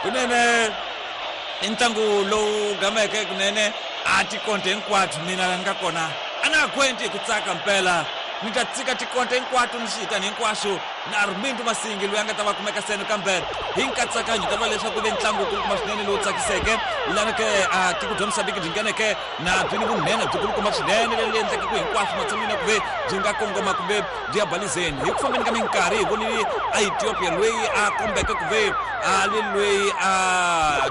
Kunene i ntlangu lowu gameke kunene a tikonte hinkwato mina nga kona a na ha kwenti hi ku tsaka mpela ni ta tsika tikonte hinkwato ni xihitani hinkwaswo na Armindo Masingi loyi a nga ta va kumeka seno kambe hi nkatsakanyo ta vula leswaku ve ntlangu wukulukumba swinene lowu tsakiseke lana ke a tiko bya Mozambique byi ngheneke na byi ni vunhenha byikulukumba swinene leri endleke ku hinkwaswo matshan'wini ya ku ve byi nga kongoma kumbe byi ya balizeni hi ku fambeni ka minkarhi hi vonile a Ethiopia loyi a kombeke ku ve a li loyi a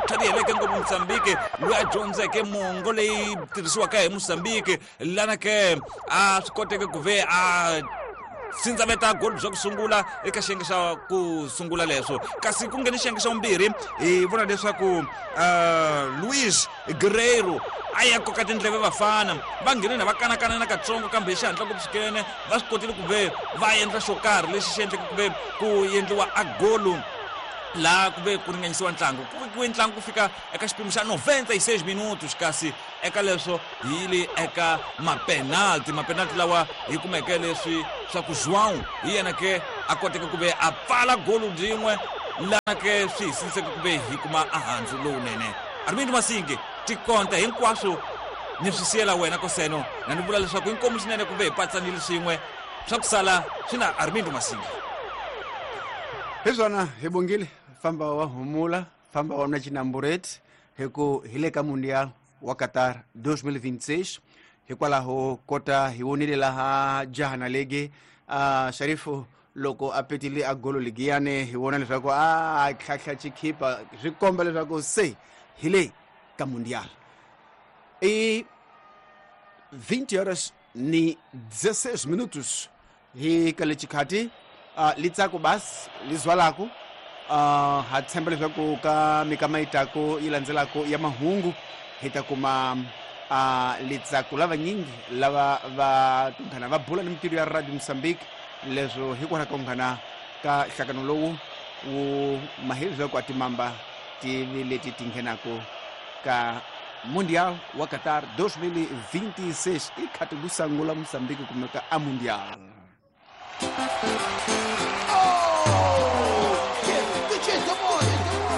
tlhariheleke ngopfu Mozambique loyi a dyondzeke mongo leyi tirhisiwaka hi Mozambique lana ke a swi koteke ku ve a sindzaveta goli bya ku sungula eka xiyenge xa ku sungula leswo kasi ku nghene xiyenge xa vumbirhi hi vona leswaku Luis Guerreiro a ya koka tindleve vafana va nghene na va kanakana na katsongo kambe hi xihatla ngopfu swinene va swi kotile ku ve va endla xo karhi lexi xi endleke ku ve ku endliwa a golo laha ku ve ku ringanyisiwa ntlangu ku vekiwe ntlangu ku fika eka xipimo xa 96 minutos kasi eka leswo hi yile eka mapenalti mapenalti lawa hi kumeke leswi swa ku João hi yena ke a koteke ku ve a pfala golo rin'we lana ke swi hi siniseke ku ve hi kuma a handzu lowunene Armindo Masingi tikonta hinkwaswo ni swi siyela wena koseno na ni vula leswaku inkomu swinene ku ve hi patsanile swin'we swa ku sala swi na Armindo Masingi hi swona hi bongile famba wa humula famba wa nwa chinambureti hi ku hi le ka mundial wa Qatar 2026 hikwalaho kota hi vonile laha jaha na lege Sharifu loko a petile a golo ligiyane hi vona leswaku a tlhatlha chikhipa swi komba leswaku se hi le ka mundial i 20 horas ni 16 minutos hi ka lexikhathi litsako basi li zwalaku ha tshemba leswaku ka mikama yi tako yi landzelako ya mahungu hi ta kuma litsako lavanyingi lava va tunghana va bula ni mintirho ya Radio Mozambique leswo hikwalaho ka nghana ka nhlangano lowu wu maheli leswaku a timamba ti leti ti nghenako ka Mundial wa Qatar 2026 i khati ku sangula Mozambique kumeka a Mundial.